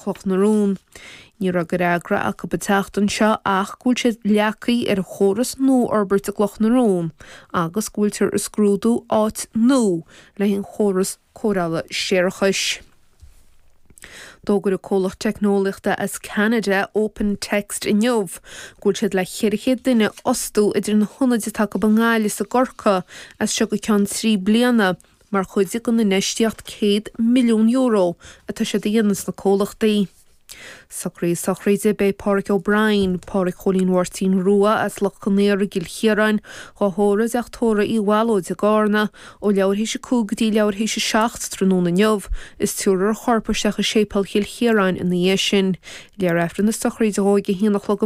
Chloch na Rón. Ní raibh de fhreagra acu an tseachtain seo ach go bhfuil siad leagtha ar an chóras nua a fhorbairt i gCloch na Rón agus go bhfuiltear ag scrúdú áit nua le haghaidh an chóras cóireála séarachais. D'fhógair an comhlacht teicneolaíochta as Ceanada, Open Text inniu go bhfuil siad le 400 duine a fhostú idir na hionaid atá acu i nGaillimh is i gCorcaigh as seo go ceann 3 bliana mar chuid den infheistíocht €100 milliún atá siad a dhéanamh sna comhlachtaí. Socruithe a sochraide Beidh Páraic O'Brien, Páraic Chóilín Mháirtín Rua as Loch Con Aora i gCill Chiaráin, dhá thórramh i dTeach Tórraimh Uí Bhallóid i gCarna, ó leathuair théis a 5 go dtí leathuair théis a 7 tráthnóna inniu, is tabharfar a chorp isteach i Séipéal Chill Chiaráin ina dhiaidh sin. Léifear Aifreann na sochraide dhó ag a haon a chlog.